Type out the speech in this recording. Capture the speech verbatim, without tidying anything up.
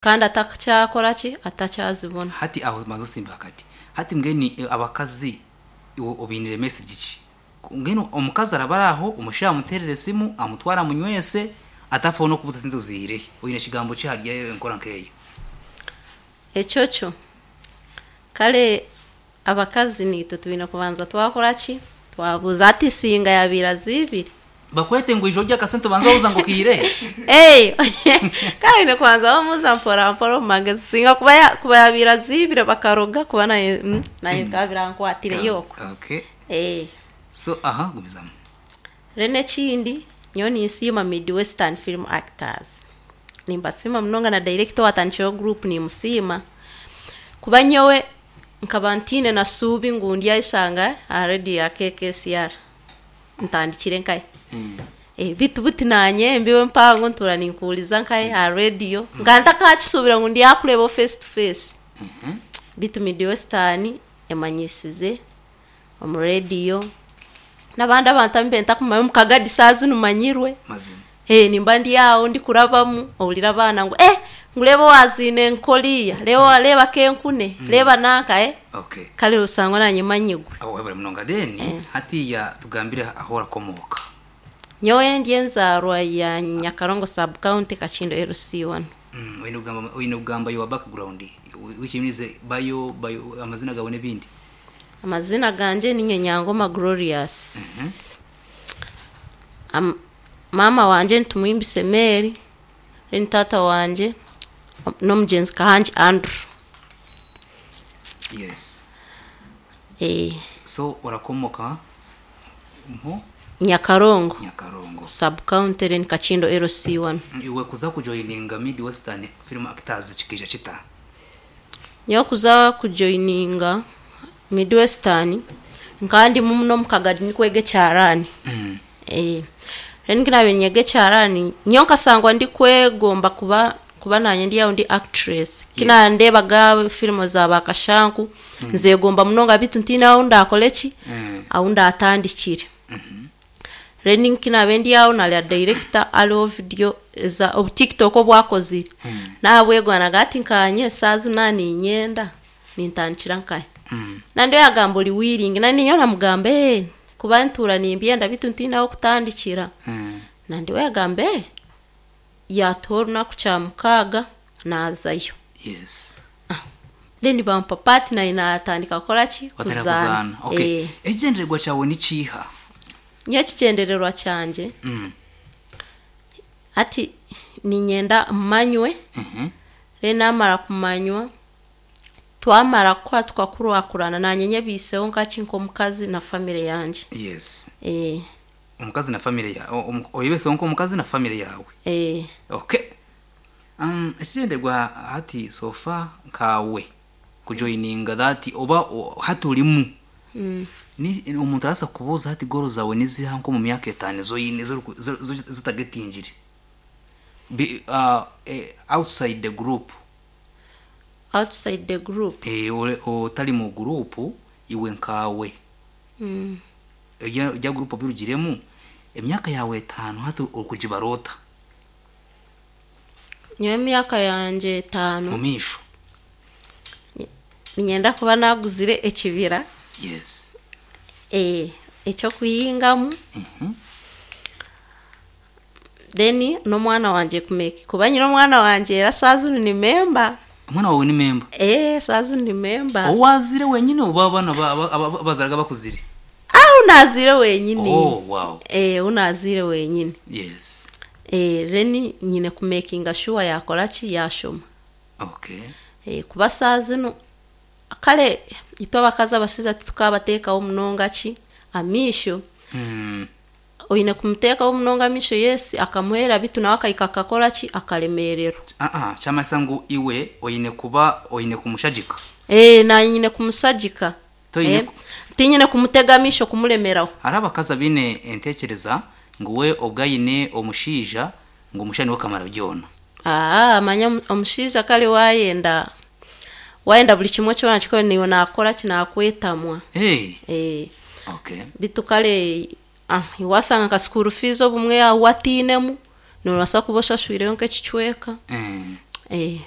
Kandi atakyakora ki, atakyazibona. Hati aho maze osimba kati hati mbwenu eh, abakazi iwe obinire message ki? Mbwenu omukazi araba ari aho, omushaija amuterere esimu, amutwara amunywese, atafaho n'okubuza sente oziirehe. Oine ekigambo ki ahari enkora nk'eyo? Ekyo kyo kare abakazi niitwe twine kubanza twakora ki, twabuuza hati singa yabaire aziibire. Bakwete ngu ija orye akasente obanze wabuuza ngu okiirehe? Ee, kare oine kubanza wamubuuza mpora mpora omu magezi, singa kuba ya- kuba yabaire aziibire bakaroga kuba naye mm, naye bikaba birankwatire yooko. Okay. Ee. So aha gumizamu. Then ekindi, nyowe ninsiima Midwestern Film Actors. Nimbasiima munonga na director owatandikireho group nimusiima. Kuba nyowe nkaba ntiine na suubi ngu ndyayeshanga aha radio ya K K S R ntandikire nkaye. Mm. Eh, bitu buti nanye embibo empango ntuura ninkuhuriza nkaye aha radio nka ntakakisuubira ngu ndyakureeba face to face. Mhm. Bitu Midwestern emanyisize omu radio n'abandi abantu abu ntakumanya omu Kagadi saaha zinu manyirwe. Mazima. Eh, nimba ndi aho ndikurabamu ohurira abaana ngu eh ngu reeba owaziine nkoriya, reeba reeba kenkune, reeba nanka eh Okay. kare osangwa nanye manyigwe. Aho webare munonga. Then hatiya tugambire aho orakomoka. Nyowe ndi enzaarwa ya Nyakarongo Sub County, Kakindo L C one. Mm, oine kugamba oine kugamba your background, which means bayo bayo amazina gawe n'ebindi. Amazina ganje ninye Nyangoma Glorious. Am, mama wanje nitumuhimbise Mary, then tata wanje n'omugyenzi Kahangi Andrew. Yes. Eh, So orakomoka mho? Nyakarongo Nyakarongo. Sub County, then Kakindo L C one. Iwe kuza kujoininga Midwestern Film Actors kikija kita? Nyowe kuza kujoininga Midwestern nkandimu muno omu Kagadi nikwega ekyaraani. mm. Eh, then kinabe nyega ekyaraani, nyowe nkasangwa ndikwegomba kuba kuba nanye ndi aho ndi actress. Kinandebaga filimu za bakashanku nzegomba munonga, bitu ntiine ahu ndakore ki, Mm. ahu ndatandikire. Then kinabe ndi aho nareba director ariho video eza obu TikTok obwakozire, Mm. nahabwegwanaga ati nkanye saaha zina ninyenda nintandikira nkahe. Mm. Nandi yagamba ori willing, nandi nyowe namugamba, eh kuba ntuura nimbyenda bitu ntiine aho kutandikira. Mm. Nandi we yagamba, eh yatuha orunaku Kyamukaaga nazayo. Yes Then bampa part, naye natandika kukora ki? Watandika kuzaana. Okay. Eh. Ekigyendererwa kyawe ni kiiha? Nyowe ekigyendererwa kyangye mm. ati ninyenda manywe. Mhm. Then namara kumanywa, twamara kukora tukakurakurana, nanye nyebiiseho nkaki nk'omukazi na family yangye. Yes eh, omukazi na family yawe, oyebeseho nk'omukazi na family yawe. Eh, Okay, um, ekigyendererwa hati so far nkawe kujoininga that oba o- hati orimu mm. ni omuntu arasa kubuuza hati goal zawe niziha nko mu myaka etaano ezoyine zotagetingire Bi- uh, eh, outside the group? Outside the group? eh, ore- otari mu group, iwe nkawe, mm. ejya ejya group obirugiremu, emyaka yawe etaano hati okugibarota? Nyowe emyaka yangye Mu etaano maisho. Ninyenda kuba naguzire ekibira yes eh, ekyokuhingamu. Mhm. Then n'omwana wangye kumeki kuba nyine omwana wangye era saa zinu ni member. Omwana wawe ni member? Eh, saa zinu ni member. Owazire wenyine oba abana ba- aba- aba- abazaraga bakuzire? Ah, unazire wenyine. Oh, wow. Eh, unazire wenyine. yes Eh, then nyine kumakinga sure yakora ki, yashoma. okay Eh, kuba saa zinu kare itwe abakazi abashaija titukabateekaho munonga ki amiisho. mm. Oine kumuteekaho munonga amiisho, yes, akamuheera, bitu nawe akahika akakora ki, akaremererwa. Ah, ah, kyamanyisa ngu iwe oine kuba oine kumushagika. Eh, nanye nyine kumusagika. Toine Eh, ku- tinyine kumutega amiisho kumuremeraho. Hariho abakazi abaine entekereza ngu we obwo aine omushaija, ngu omushaija niwe kamara byona. Aa, manya omu- omushaija kare wayenda wayenda buri kimwe kyona kikore, niwe nakora ki, nakwetamwa. Hey. Eh, okay bitu kare ah, wasanga nka school fees obumwe watiinemu, nobaasa kuba oshashwireyo nk'ekicweka. eh. Eh.